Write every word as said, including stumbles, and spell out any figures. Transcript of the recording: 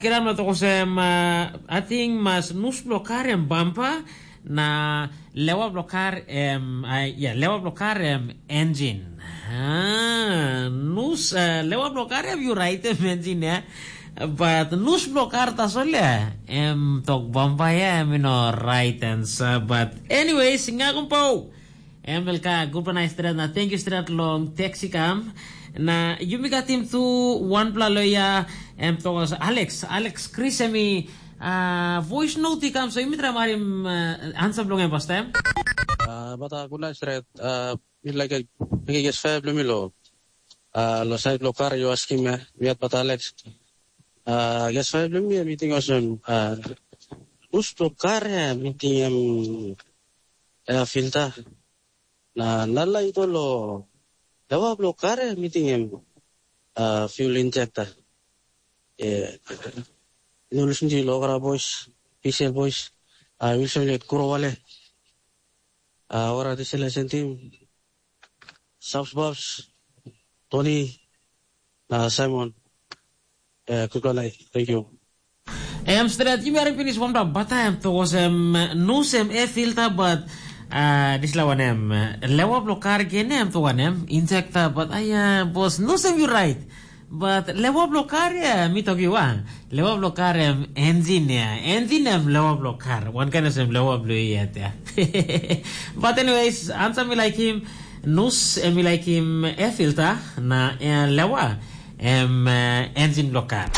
Kira na tok olsem, uh, ating mas nus bilong kar em bampa, na lewa bilong kar em, uh, ya, lewa bilong kar em engine. Ah, nus, uh, lewa bilong kar em yu raitim engine ya. But nus bilong kar tasol ya, em tok bampa ya, em you know, right answer. But anyways, nga kumpau. Em belka, gulpa nai stret na thank you stret long text i kam. Na yumi katim tu wanpela loya, em tokos Alex, Alex Chris em i uh, voice note i kam, so yumi try marim uh, answer bilong em pastem. Uh, but uh, good night stret. Uh, mi like a big guest five bilong mi lo. Uh, lo side lo car you asking me, mi at but Alex. Uh, guest five bilong mi, mi ting osem. Uh, us to car ya, mi ting em air filter. Na nala ito lo dawa blo kare miting em uh, fuel injector. Eh, no listen to lokara boys, P C L boys, uh, Wilson le kuro wale. Uh, ora this lesson team, Subs Bobs, Tony, uh, Simon. Uh, good night. Thank you. Em stret, yumi harim pinis wanpela bata em tok olsem nus em e filta, but uh, dispela wanem, lewa bilong kar gen em tok wanem, injekta, but aia bos nus em yu rait. But lewa bilong kar ya, mi tok yu a, lewa bilong kar em enjin ya, enjin em lewa bilong kar, wankain olsem lewa bilong yu yet ya. But anyways, ansa mi laikim, nus em mi laikim e filta, na eh, lewa em eh, enjin bilong kar.